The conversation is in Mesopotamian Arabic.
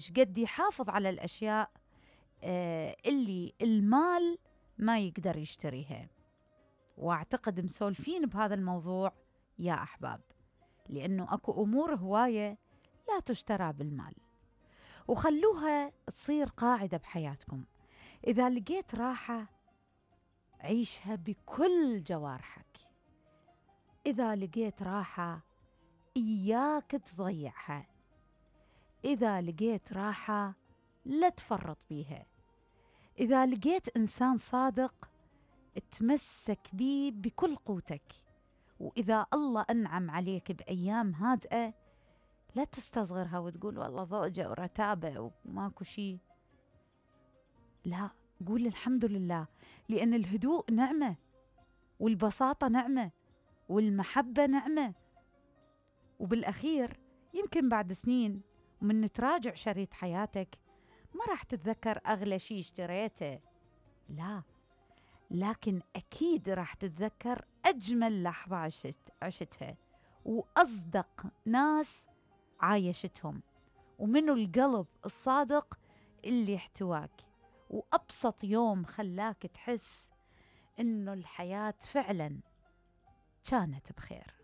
شقد يحافظ على الأشياء اللي المال ما يقدر يشتريها. وأعتقد مسولفين بهذا الموضوع يا أحباب، لأنه أكو أمور هواية لا تشترى بالمال. وخلوها تصير قاعدة بحياتكم، إذا لقيت راحة عيشها بكل جوارحك، إذا لقيت راحة إياك تضيعها، إذا لقيت راحة لا تفرط بيها، إذا لقيت إنسان صادق تمسك بيه بكل قوتك، وإذا الله أنعم عليك بأيام هادئة لا تستصغرها وتقول والله ضوجة ورتابة وماكو شي. لا، قول الحمد لله، لأن الهدوء نعمة، والبساطة نعمة، والمحبة نعمة. وبالأخير يمكن بعد سنين ومن تراجع شريط حياتك ما راح تتذكر أغلى شي اشتريته، لا، لكن أكيد راح تتذكر أجمل لحظة عشتها، وأصدق ناس عايشتهم، ومنو القلب الصادق اللي احتواك، وأبسط يوم خلاك تحس إنه الحياة فعلا كانت بخير.